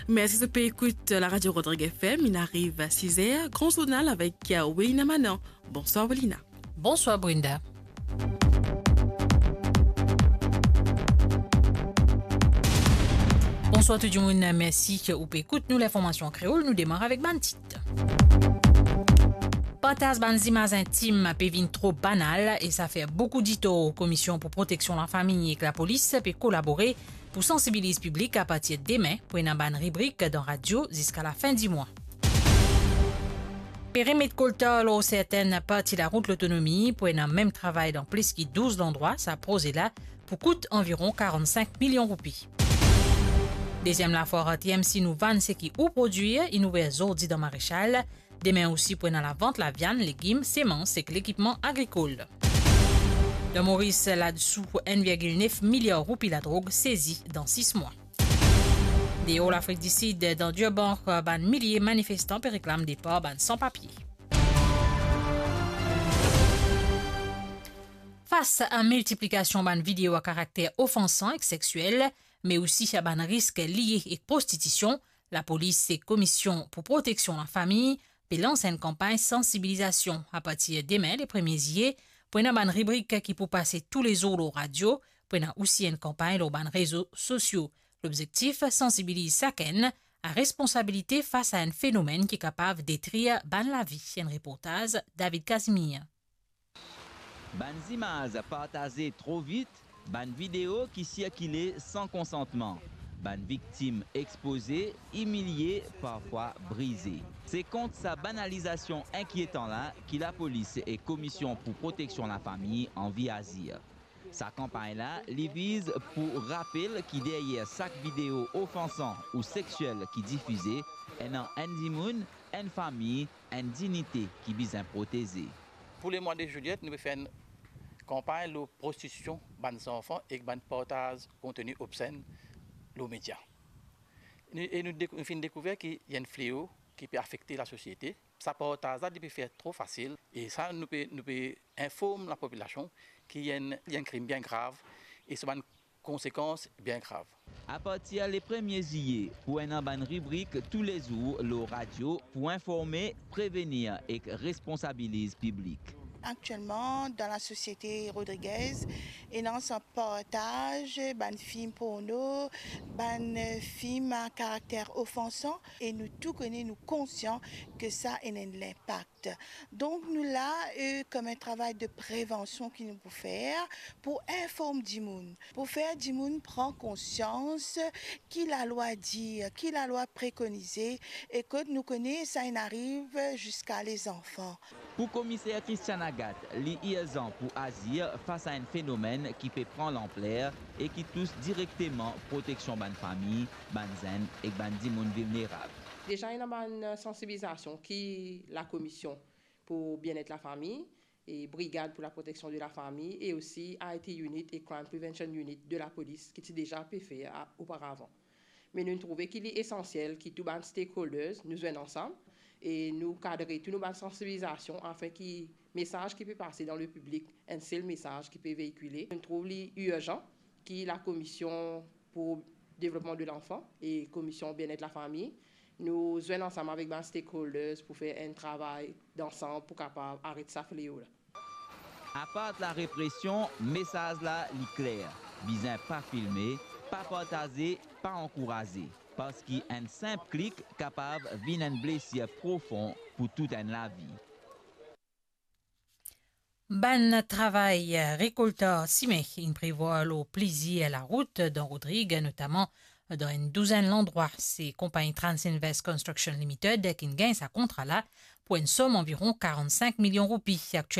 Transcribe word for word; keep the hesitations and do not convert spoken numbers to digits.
Mersi zot pe ekout Laradio Rodrigues F M. Inn ariv siz er, gran zournal avek Welina Manan. Bonswar, Welina. Bonswar, Brenda. Bonswar tou dimoun, mersi ou pe ekout nou, linformasion an kreol. Nou demar avek bann tit. Partaz bann zimaz intim pe vinn tro banal e sa fer boukou ditor. Komisyon pou Proteksion Lafami ek lapolis pe kolabore pou sansibiliz piblik. Apartir demin, pou ena bann ribrik dan radio ziska lafin dimwa. Pe remet koltar lor sertenn parti larout Lotonomi, pou ena mem travay dan plis ki douz landrwa. Sa proze la pou kout anviron karannsink milion roupi. Deziem lafwar T M C Nou Vann Seki Ou Prodwir inn ouver zordi dan Marechal. Demin osi pou ena lavant laviann, legim, semans ek lekipman agrikol. Dan Moris, ladisou enn virgil nef miliar roupi ladrog sezi dan sis mwa. Deor Lafrik Disid, dan Durban, bann milie manifestan pe reklam depar bann san papie. Fas a miltiplikasion bann video a karakter ofansan ek seksiel, me osi a bann risk lie ek prostitision, lapolis ek Komisyon pou Proteksion Lafami pe lans enn kanpagn sansibilizasion. Apartir demin, le premie ziye, pou ena bann ribrik ki pou pase toulezour lor radio, pou ena osi enn kanpagn lor bann rezo sosio. Lobzektif, sansibiliz sakenn a responsabilite fas a enn fenomenn ki kapav detrir bann lavi. Enn reportaz David Casimir. Bann zimaz partaze tro vit, bann video ki sirkile san konsantman, bann viktim expoze, imilie, parfwa brize. Se kont sa banalizasion inkietan la ki lapolis ek Komisyon pou Proteksion Lafami anvi azir. Sa kanpagn la, li viz pou rapel ki deryer sak video ofansan ou seksiel ki difize, ena enn dimoun, enn fami, enn dignite ki bizin proteze. Pou lemwa de zilyet, nou pe fer enn kanpagn lor prostitision bann zanfan ek bann partaz konteni obsenn lor media. Nou, e nou dek-, nou finn dekouver ki ena enn fleo ki pe afekte lasosiete. Sa partaz la, li pe fer tro fasil. E sa, nou pe, nou pe inform lapopilasion ki ena enn, ena enn krim bien grav e so bann konsekans bien grav. Apartir le premie ziye, pou ena bann ribrik toulezour lor radio pou informe, prevenir ek responsabiliz piblik. Aktielman, dan lasosiete Rodrigues, ena sa partaz bann fim porno, bann, eh, fim a karakter ofansan, e nou tou kone, nou konsian ki sa ena enn linpak. Donk, nou la, eh, kom enn travay de prevansion ki nou pou fer, pou inform dimoun, pou fer dimoun pran konsians ki lalwa dir, ki lalwa prekonize, e kot nou kone sa inn ariv ziska lezanfan. Pou Komiser Christian Agathe, li irzan pou azir fas a enn fenomenn ki pe pran lanpler e ki tous direkteman proteksion bann fami, bann zenn ek bann dimoun vilnerab. Deza, ena bann sansibilizasion ki Lakomision pou Bienet Lafami e Brigad pou Laproteksion de Lafami e osi I T Unit e Crime Prevention Unit de lapolis ki ti deza pe fer a, oparavan. Me nou trouve ki li esansiel ki tou bann stakeholders nou zwenn ansam e nou kadre tou nou bann sansibilizasion afin ki mesaz ki pe pase dan lepiblik, enn sel mesaz ki pe veikile. Nou trouv li irzan ki Lakomision pou Devlopman de Lanfan e Komisyon Bienet Lafami, nou zwenn ansam avek bann stakeholders pou fer enn travay dansam pou kapav aret sa fleo la. Apart larepresion, mesaz la li kler, bizin pa filme, pa partaze, pa ankouraze, parski enn sinp klik kapav vinn enn blesir profon pou tou enn lavi. Bann travay rekoltar sime inn prevwar lor plizier larout dan Rodrig, notaman dan enn douzenn landrwa. Se konpagni Transinvest Construction Limited ki'nn gagn sa kontra la pou enn som anviron karannsink milion roupi. Aktielman,